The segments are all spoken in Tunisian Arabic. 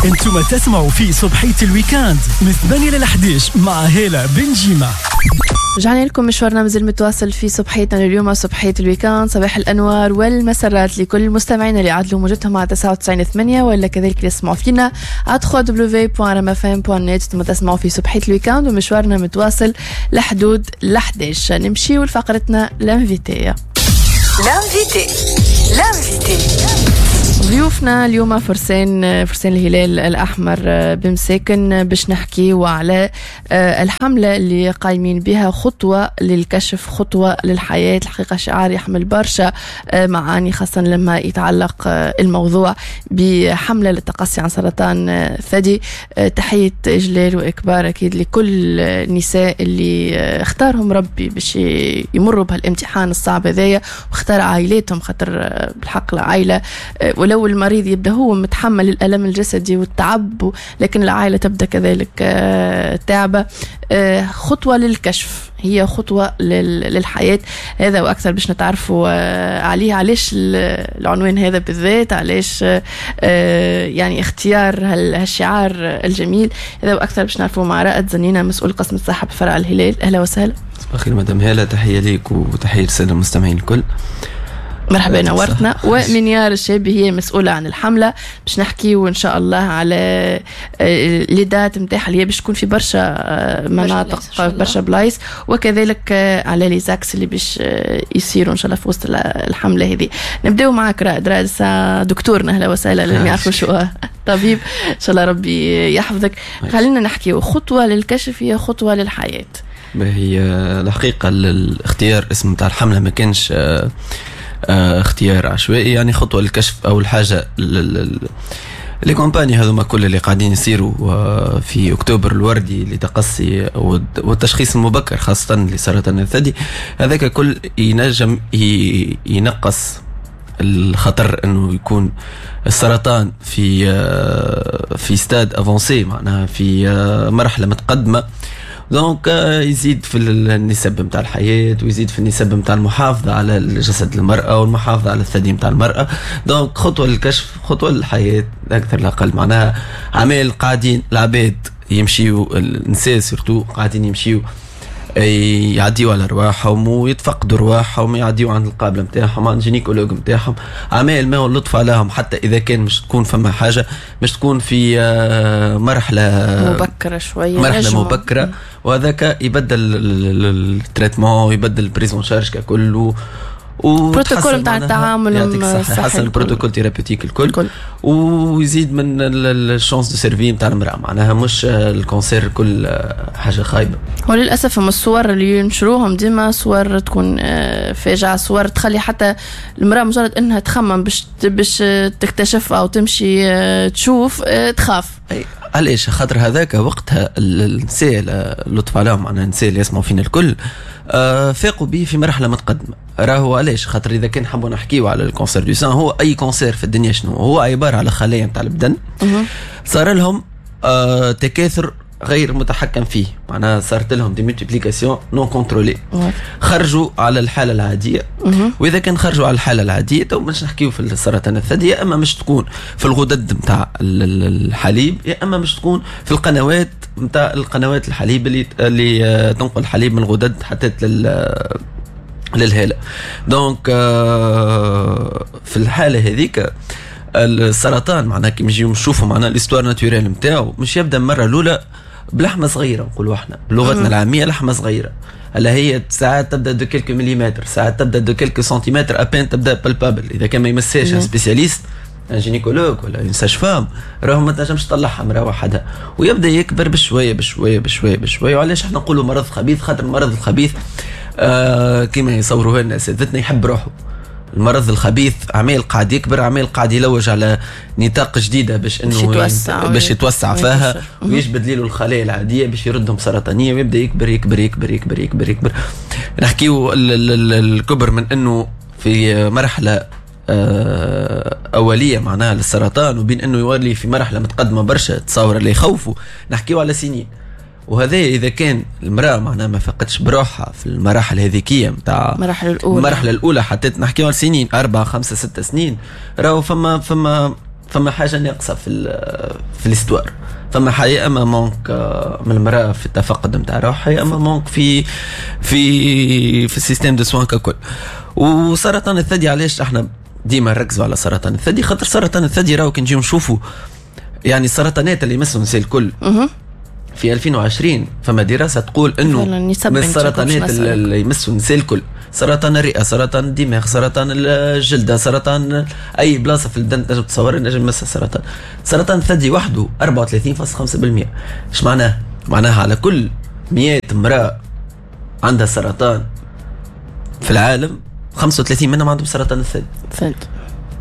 انتم تسمعوا في صبحية ال week-end من 8 ل 11 مع هالة بنجيمة. رجعنا لكم، مشوارنا مازال متواصل في صبحيتنا اليوم، صبحية ال week-end. صباح الأنوار والمسرات لكل المستمعين اللي عدلوا موجتهم على 99.8 ولا كذلك اللي يسمعوا فينا على www.rmfm.net. ثم تسمعوا في صبحية ال week-end ومشوارنا متواصل لحدود ل 11. نمشيو لفقرتنا l'invité. l'invité، l'invité. ضيوفنا اليوم فرسان الهلال الأحمر بمساكن، باش نحكيو على الحملة اللي قايمين بها، خطوة للكشف خطوة للحياة. الحقيقة شعار يحمل برشا معاني، خاصة لما يتعلق الموضوع بحملة للتقصي عن سرطان الثدي. تحية إجلال وإكبار أكيد لكل النساء اللي اختارهم ربي باش يمروا بهالامتحان الصعب هذايا، واختار عائلاتهم، خاطر بالحق العائلة ولو المريض يبدا هو متحمل الالم الجسدي والتعب، لكن العائلة تبدا كذلك تعبه. خطوة للكشف هي خطوة للحياه. هذا واكثر باش نتعرفوا عليه، علاش العنوان هذا بالذات، علاش يعني اختيار هالشعار الجميل. هذا واكثر باش نعرفوا مع رائد زنينه، مسؤول قسم الصحة بفرع الهلال. اهلا وسهلا. صباح الخير مدام هالة، تحية ليك وتحية للسادة المستمعين الكل. مرحبا، نورتنا. ومنيار الشابي هي مسؤولة عن الحملة، باش نحكيو إن شاء الله على les dates نتاعها اللي هي باش تكون في برشا مناطق، برشا بلايص، وكذلك على les axes اللي باش يصيروا إن شاء الله في وسط الحملة هذه. نبداو معك رائد. رائد دكتورنا، أهلا وسهلا، اللي ما يعرفوا شو طبيب، إن شاء الله ربي يحفظك. خلينا نحكيو، خطوة للكشف هي خطوة للحياة. هي الحقيقة الاختيار اسم تاع الحملة ما كانش اختيار عشوائي، يعني خطوة للكشف. اول حاجة les campagnes هذوما كل اللي قاعدين يصيروا في اكتوبر الوردي لتقصي والتشخيص المبكر خاصة لسرطان الثدي، هذاك كل ينجم ينقص الخطر انه يكون السرطان في stade avancé، معناها في مرحلة متقدمه. donc يزيد في النسب نتاع الحياة ويزيد في النسب نتاع المحافظة على جسد المراة والمحافظة على الثدي نتاع المراه. donc خطوة للكشف خطوة للحياه، اكثر لا اقل. معناها عمال قاعدين العباد يمشيو، النساء surtout قاعدين يمشيو يعديوا على رواحهم ويتفقدوا رواحهم، يعديوا عند القابلة نتاعهم، عند gynécologue نتاعهم. عمال ما هو اللطف عليهم، حتى اذا كان مش تكون فما حاجه، مش تكون في مرحلة مبكرة شويه. مرحلة مبكره، وهذاك يبدل ال traitement ويبدل ال prise en charge ككل. بروتوكول نتاع التعامل. يعطيك الصحة، يحسن ال protocole thérapeutique الكل، الكل. ويزيد من ال chances de survie نتاع المرأة. معناها مش ال cancer كل حاجة خايبة. وللأسف هم الصور اللي ينشروهم ديما صور تكون فاجعة، صور تخلي حتى المرأة مجرد انها تخمم باش تكتشف او تمشي تشوف تخاف. علاش؟ خاطر هذاك وقتها النساء، لطف عليهم، معناها النساء اللي يسمعوا فينا الكل، فاقوا به في مرحلة متقدمه. راهو علاش؟ خاطر اذا كان حبوا نحكيو على ال cancer du sein، هو اي cancer في الدنيا شنو هو؟ عبارة على خلايا نتاع البدن صار لهم تكاثر غير متحكم فيه، معناها صارت لهم des multiplications non contrôlées، خرجوا على الحالة العاديه. واذا كان خرجوا على الحالة العاديه، تو مش نحكيو في السرطان الثدي، يا اما مش تكون في الغدد نتاع الحليب، يا اما مش تكون في القنوات نتاع القنوات الحليب اللي تنقل الحليب من الغدد حتى للهاله. donc في الحالة هذيك السرطان معناها كي نجيو نشوفوا معناها l'histoire naturelle نتاعو، مش يبدا المرة الاولى بلحمه صغيره، نقولوا احنا بلغتنا العامية لحمه صغيره، اللي هي ساعات تبدا de quelques millimètres، ساعات تبدا de quelques centimètres à peine تبدا palpable. اذا كان ما يمسهاش un spécialiste، un gynécologue ولا une sage-femme، راهو ما تنجمش تطلعها مرة وحدها، ويبدا يكبر بشوية بشوية بشوية بشويه. وعلاش احنا نقولوا مرض خبيث؟ خاطر المرض الخبيث كما يصوروه لنا اساتذتنا يحب روحه. المرض الخبيث عمال قاعد يكبر، عمال قاعد يلوج على نطاق جديدة باش انه يتوسع باش يتوسع فيها ويجبد له الخلايا العادية باش يردهم سرطانيه، ويبدا يكبر يكبر يكبر يكبر يكبر يكبر. نحكيو الكبر من انه في مرحلة اوليه معناها للسرطان، وبين انه يولي في مرحلة متقدمة برشا، تصور اللي يخوفوا، نحكيو على سنين. وهذا اذا كان المراة معناها ما فقدش بروحها في المراحل هذيكيه نتاع المراحل الاولى. المرحلة الاولى، حتى نحكيو على سنين، 4 5 6 سنين، راهو فما فما حاجة ناقصه في l'histoire، فما حاجة اما manque من المراة في التفقد نتاع روحها، يا اما manque في ال système de soins ككل. وسرطان الثدي علاش احنا ديما نركزوا على سرطان الثدي؟ خاطر سرطان الثدي راهو كي نجيو نشوفوا يعني السرطانات اللي يمسوا النساء الكل في 2020 فما دراسة تقول انه من السرطانات اللي يمسوا النساء الكل، سرطان الرئه، سرطان الدماغ، سرطان الجلده، سرطان اي بلاصة في البدن تنجم تصور نجم يمسها سرطان. سرطان الثدي وحده 34.5%. ايش معناه؟ معناها على كل 100 امراة عندها سرطان في العالم 35 منهم عندهم سرطان الثدي.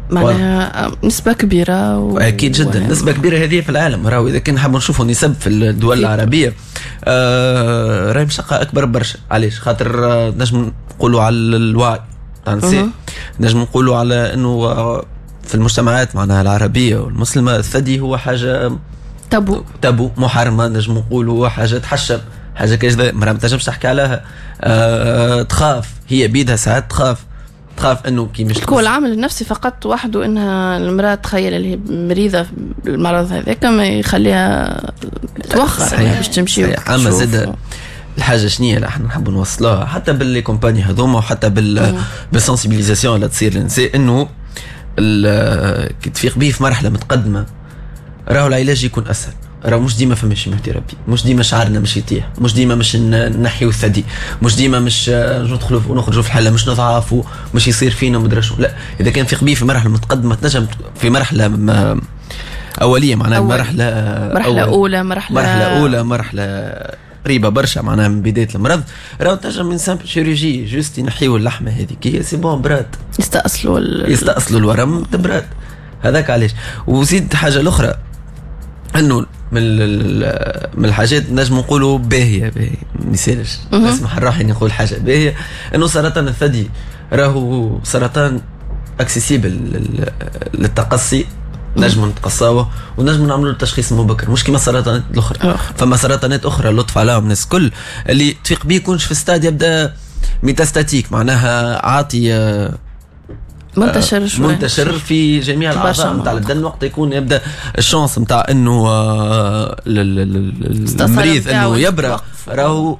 معناها نسبة كبيرة أكيد جدا نسبة كبيرة هذه في العالم. راهو إذا كان نحبوا نشوفوا نسب في الدول العربية راهي مشقة أكبر برشا. علاش؟ خاطر نجم نقولوا على الوعي تاع النساء، نجم نقولوا على أنه في المجتمعات معناها العربية والمسلمة الثدي هو حاجة تابو محرمة، نجم نقولوا حاجة تحشم، حاجة كذا مرأة ما تنجمش تحكي عليها، تخاف هي بيدها ساعات تخاف انه كي مش هو العامل النفسي فقط وحده، انها المراة تخيل اللي هي مريضه بالمرض هذاك ما يخليها توخر باش تمشي. اما زاد الحاجة شنية اللي احنا نحبوا نوصلوها حتى بال les campagnes هذوما وحتى بال sensibilisation اللي تصير للنساء، انه كي تفيق به في مرحلة متقدمة راهو العلاج يكون اسهل. راه مش ديما فما chimiothérapie، مش ديما شعرنا مش يطيح، مش ديما مش نحيو الثدي، مش ديما مش ندخلوا ونخرجوا في الحالة، مش نضعفوا، مش يصير فينا مدري شو. لا، اذا كان في قبيه في مرحلة متقدمة تنجم في مرحلة اوليه معناها مرحلة اولى، مرحلة اولى، مرحلة قريبه برشا معناها من بداية المرض، راهو تنجم من simple chirurgie juste ينحيو اللحمة هذيك c'est bon برات، يستأصلوا الورم تبرات. هذاك علاش. وزيد حاجة الاخرى انه من الحاجات نجم نقولوا باهيه، ما يسالش نسمح لروحي نقول حاجة باهيه، انه سرطان الثدي راهو سرطان accessible للتقصي، نجم نتقصاوه ونجم نعملوا التشخيص المبكر، مش كيما السرطانات الاخرى. فما سرطانات اخرى لطف عليهم الناس الكل اللي تفيق بيه يكونش في ستاد يبدا métastatique، معناها عاطي منتشر شوي، منتشر في جميع الاعضاء نتاع البدن، وقت يكون يبدا ال chance نتاع انه المريض انه يبرأ راهو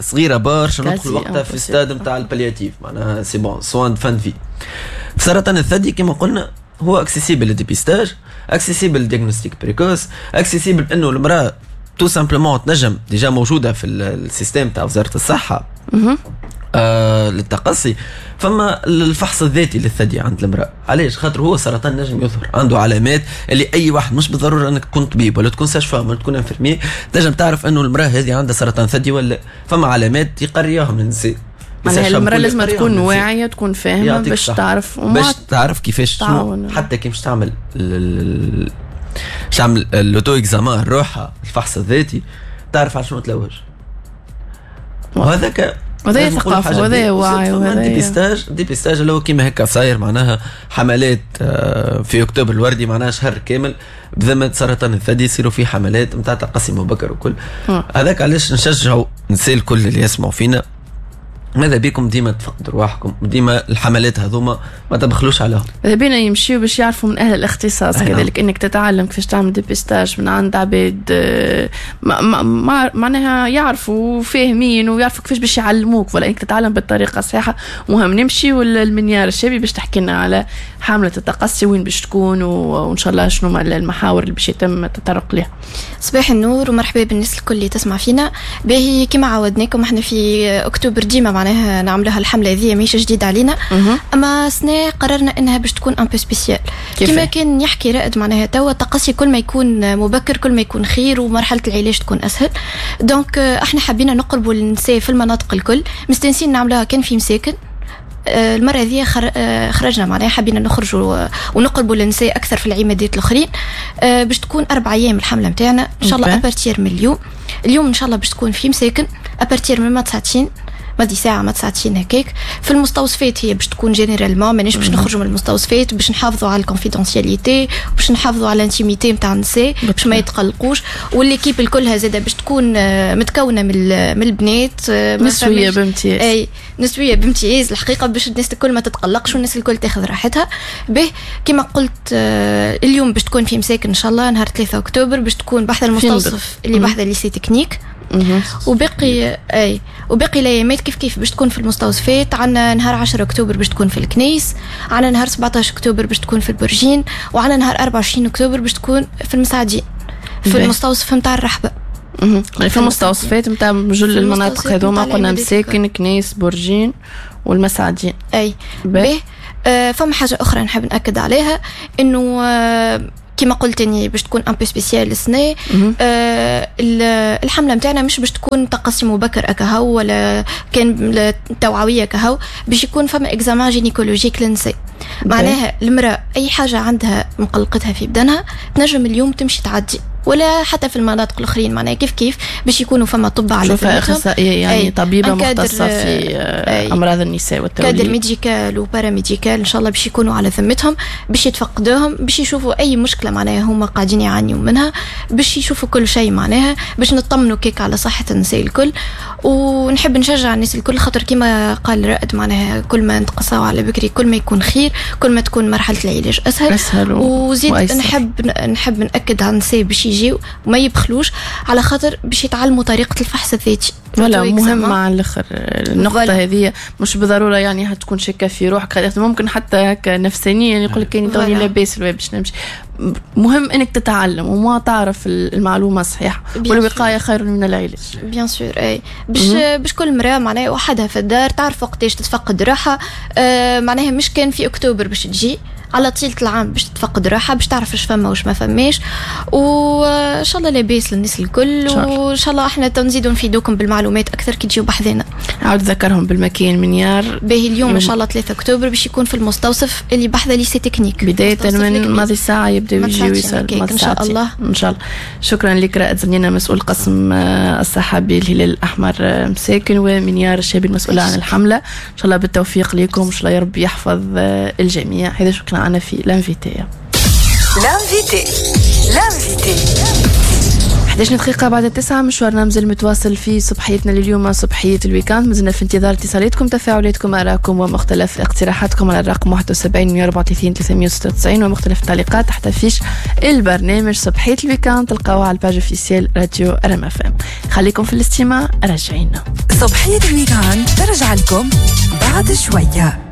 صغيرة برشا، ندخل وقتها في ستاد نتاع ال palliatif، معناها c'est bon soins fin de vie. سرطان الثدي كما قلنا هو accessible لل dépistage، accessible لل diagnostic précoce، accessible انه المراة tout simplement تنجم déjà موجودة في ال système تاع وزارة الصحة للتقصي. فما الفحص الذاتي للثدي عند المرأة، علاش؟ خاطر هو سرطان نجم يظهر عنده علامات اللي اي واحد، مش بالضرورة انك تكون طبيب ولا تكون sage-femme ولا تكون infirmier تنجم تعرف انه المرأة هذه عندها سرطان ثدي ولا. فما علامات يقريهم النساء، معناها المرأة لازم تكون واعية، تكون فاهمة باش تعرف، باش تعرف كيفاش حتى كيفاش تعمل تعمل l'auto-examen روحها، الفحص الذاتي، تعرف على شنو تلوج. وهذاك وهذا ثقافة وهذا وعي وهذا dépistage اللي هو كيما هكا صاير، معناها حملات في اكتوبر الوردي، معناها شهر كامل بذمة سرطان الثدي يصيروا فيه حملات نتاع تقصي مبكر وكل. هذاك علاش نشجعوا نساء الكل اللي يسمعوا فينا، ماذا بيكم ديما تفقدوا رواحكم، ديما الحملات هذوما ما تبخلوش عليهم. ماذا بينا يمشيو باش يعرفوا من اهل الاختصاص. كذلك انك تتعلم كيفاش تعمل dépistage من عند عباد معناها يعرفوا فاهمين ويعرفوا كيفاش باش يعلموك، ولا انك تتعلم بالطريقة الصحيحة. مهم نمشيو للمنيار الشابي باش تحكي لنا على حمله التقصي وين باش تكون، وان شاء الله شنو المحاور اللي باش يتم التطرق لها. صباح النور ومرحبا بالناس الكل اللي تسمع فينا. باهي كما عودناكم احنا في اكتوبر ديما معناها نعملوها الحملة هذه، ماهيش جديدة علينا، اما سنة قررنا انها باش تكون un peu spéciale. كما كان يحكي رائد معناها توا التقصي كل ما يكون مبكر كل ما يكون خير، ومرحلة العلاج تكون اسهل. donc احنا حبينا نقربوا للنساء في المناطق الكل، مستانسين نعملوها كان في مساكن. المرة هذه خرجنا معناها حبينا نخرجوا ونقربوا للنساء اكثر في العمادات الاخرين، باش تكون 4 ايام الحملة نتاعنا ان شاء الله. à partir من اليوم ان شاء الله باش تكون في مساكن à partir من 9 ماضي ساعة ما ساعتين هكاك. في المستوصفات هي باش تكون généralement، مانيش باش نخرجوا من المستوصفات، باش نحافظوا على ال confidentialité، باش نحافظوا على ال intimité نتاع النساء باش ما يتقلقوش. و l'équipe الكلها زاده باش تكون متكونه من البنات، نسويه بامتياز. اي نسويه بامتياز الحقيقه، باش الناس الكل ما تتقلقش والناس الكل تاخذ راحتها. به كما قلت اليوم باش تكون في مساكن ان شاء الله نهار 3 اكتوبر، باش تكون بحذا المستوصف اللي بحذا lycée technique. وباقي اي وباقي الايامات كيف كيف باش تكون في المستوصفات. عندنا نهار 10 اكتوبر باش تكون في الكنيس، عندنا نهار 17 اكتوبر باش تكون في البرجين، وعندنا نهار 24 اكتوبر باش تكون في المساعدين في المستوصف نتاع الرحبه. في المستوصفات نتاع جل المناطق هذوما قلنا مساكن، كنيس، برجين والمساعدين. اي به. فما حاجة اخرى نحب ناكد عليها، انه كما قلت اني باش تكون un peu spéciale السنه. الحملة نتاعنا مش باش تكون تقصي مبكر اكاهو ولا كان توعوية كهو، باش يكون فما examen gynécologique للنساء. معناها المراة اي حاجة عندها مقلقتها في بدنها تنجم اليوم تمشي تعدي، ولا حتى في المناطق الاخرين معناها كيف كيف باش يكونوا فما طب على اخصائية يعني طبيبه مختصة في امراض النساء والتوليد، cadre médical و paramédical ان شاء الله باش يكونوا على ذمتهم، باش يتفقدوهم، باش يشوفوا اي مشكلة معناها هما قاعدين يعانيوا منها، باش يشوفوا كل شيء معناها باش نطمنوا كيك على صحة النساء الكل. ونحب نشجع الناس الكل، خاطر كما قال رائد معناها كل ما نتقصاو على بكري كل ما يكون خير، كل ما تكون مرحلة العلاج اسهل. وزيد نحب ناكد على النساء باش يجيو وما يبخلوش، على خاطر باش يتعلموا طريقه الفحص الذاتي. ولا مهم على الاخر النقطة هذه، مش بالضرورة يعني هتكون شاكه في روحك، ممكن حتى هكا نفسانيا يقول لك كاني توني لاباس باش نمشي. مهم انك تتعلم وما تعرف المعلومة الصحيحة، والوقاية خير من العلاج. bien sûr اي باش كل مراة معناها وحدها في الدار تعرف وقتاش تتفقد روحها. معناها مش كان في اكتوبر باش تجي، على طيلة العام باش تتفقد روحها، باش تعرف اش فما واش ما فماش. وان شاء الله لاباس للناس الكل، وان شاء الله احنا تنزيدوا نفيدوكم بالمعلومات اكثر كي تجيو بحذانا. عاود ذكرهم بالمكان منيار. باهي اليوم ان شاء الله 3 اكتوبر باش يكون في المستوصف اللي بحذا lycée technique، بداية من ماضي ساعة يبداو يجيو يسالوا ان شاء الله. ان شاء الله. شكرا لك رائد زنينة مسؤول قسم الصحة بالهلال الاحمر مساكن، ومنيار الشابي المسؤولة عن الحملة. ان شاء الله بالتوفيق لكم، ان شاء الله يا ربي يحفظ الجميع. هذا شكرا معنا في l'invité. l'invité l'invité 11 دقيقة بعد 9، مشوارنا مازال متواصل في صبحيتنا لليوم، صبحية ال week-end. مازلنا في انتظار اتصالاتكم، تفاعلاتكم، آرائكم ومختلف اقتراحاتكم على الرقم 71 134 396 ومختلف التعليقات تحت affiche البرنامج صبحية ال week-end تلقاوها على ال page officielle راديو رم اف ام. خليكم في الاستماع، راجعين. صبحية ال week-end ترجع لكم بعد شوية.